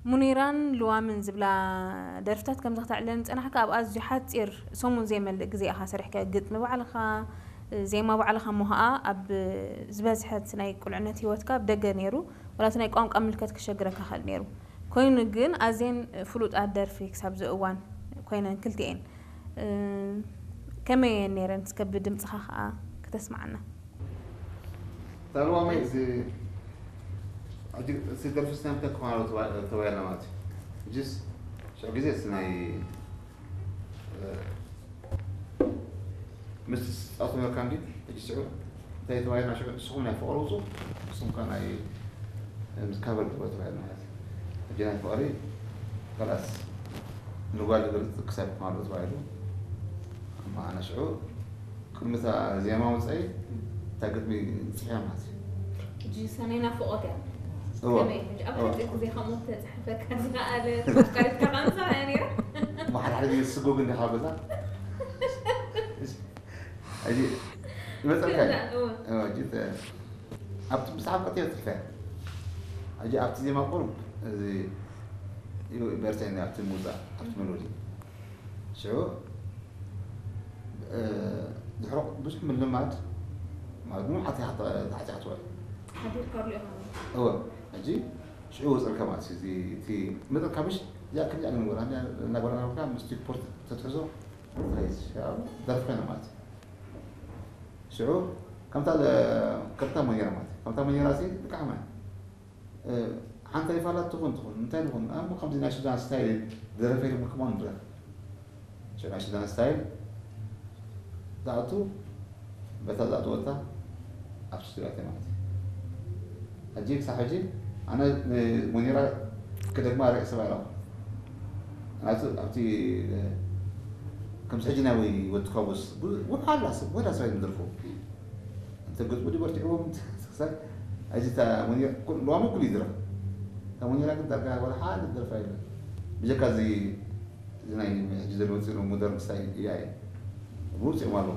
ሙኒራን ልዋምን ዝብላ ደርፍታት ከምዚ ክተዕለን ዝጸናሕካ ኣብ ኣዝዩ ሓጺር ሰሙን ዘይመልእ ግዜ ኢኻ ሰሪሕካ። ግጥሚ ባዕልኻ፣ ዜማ ባዕልኻ እሞ ኸኣ ኣብ ዝበዝሐት ናይ ቁልዕነት ህይወትካ ኣብ ደገ ነይሩ፣ ዋላ እቲ ናይ ቋንቋ ምልከት ክሸግረካ ክእል ነይሩ። ኮይኑ ግን ኣዝየን ፍሉጣት ደርፊ ክሳብ እዚ እዋን ኮይነን ክልቲኤን። እ፣ ከመይ እየን ነይረን? እስከ ብድምጽኻ ኸኣ ክተስምዓና። ታልዋመይ እዚ ሕጂ እዚ ደርፊ ስናምተ ክማሮ ተባሂልና ማለት እዩ። ሕጂስ ሽዑ ግዜ እቲ ናይ ምስ ጻቱ ነርካ እንዲ ሕጂ ሽዑ እንታይ ተባሂልና ሽዑ ንስኹም ናይ ፍቕሪ ውፁ ንስኹም ከ ናይ ምስ ካቨር ግበሩ ተባሂልና ማለት እዩ። ሕጂ ናይ ፍቕሪ ከላስ ንጓል ዝገልፅ ክሳብ ክማሮ ተባሂሉ እማ ኣነ ሽዑ ቅድሚ እታ ዜማ ወፃኢ እታ ግጥሚ ፅሒያ ማለት እዩ። ሕጂ ሰነይ ናፍቆት እያ። እወ። ከመይ ሕጂ ኣብ እወ። ሓፂር ግዜ ከምኡ ተፅሕፈካ ዝኸኣለ ኣፍቃሪትካ ከምሳ እያ ነይራ። እሞ ሓደ ሓደ ግዜ ስጎግ እንዲኻ ገዛ እዚ ይመፀልካ እዩ። እወ። እወ፣ ሕጂ ተ- ኣብቲ ብዛዕባ ቀጥታ ፅሒፈ ሕጂ ኣብቲ ዜማ ቁሩብ እዚ በርተኒ ኣብቲ ሙዛ ኣብቲ መሎዲ ሽዑ እ፣ ድሕሮ ብዙሕ ምልማድ ማለት ምንም ዓቲ ተዓጫ ትውዕል ሓዲርካ ርኢኻ እወ ሕጂ ሽዑ ወፅልካ ማለት እዩ። እዚ እቲ መጠን ካብሽ እዚኣ ከምዚኣ ንግበራ እናበላ ናብካ ምስ ቲፖርት ተትሕዞ ትኸይድ ደርፍ ኮይና ማለት እዩ። ሽዑ ከምታ ከምታ መጌራ ማለት እዩ። ከምታ መጌራ ሲ ብቃዕማ ሓንታ ይፋላት ትኹን ትኹን እንታይ ንኹን ኣሞ ከምዚ ናይ ሱዳን ስታይል ደረፈ ኢሉ ምክሞ ንድረፍ ሽዑ ናይ ሱዳን ስታይል ዝኣቱ በታ ዝኣትወታ ኣብ ስቱዲዮ ኣትየ ማለት እዩ። ሕጂ ክሳብ ሕጂ ኣነ ንሙኒራ ክደግማ ርእየ ሰብ ኣይረኹ ናቱ ኣብቲ ከምዚ ሕጂ ናይ ወይ ወዲ ካቡስ ውሓላ ሰብ ወዳ ሰብ ይምድርፉ እንተ ግጥሙ ድበርቲዕዎም ክሳብ ሕጂ እታ ሙኒራ ሎሚ ኩሉ ይድረፍ እታ ሙኒራ ግን ዳርጋ ወላ ሓደ ደርፋ የለን ብጀካ እዚ እዚ ናይ ሕጂ ዘሎ ውፅእ ሞደርን ስታይ እያ እየ ብውፅኦም ኣለዉ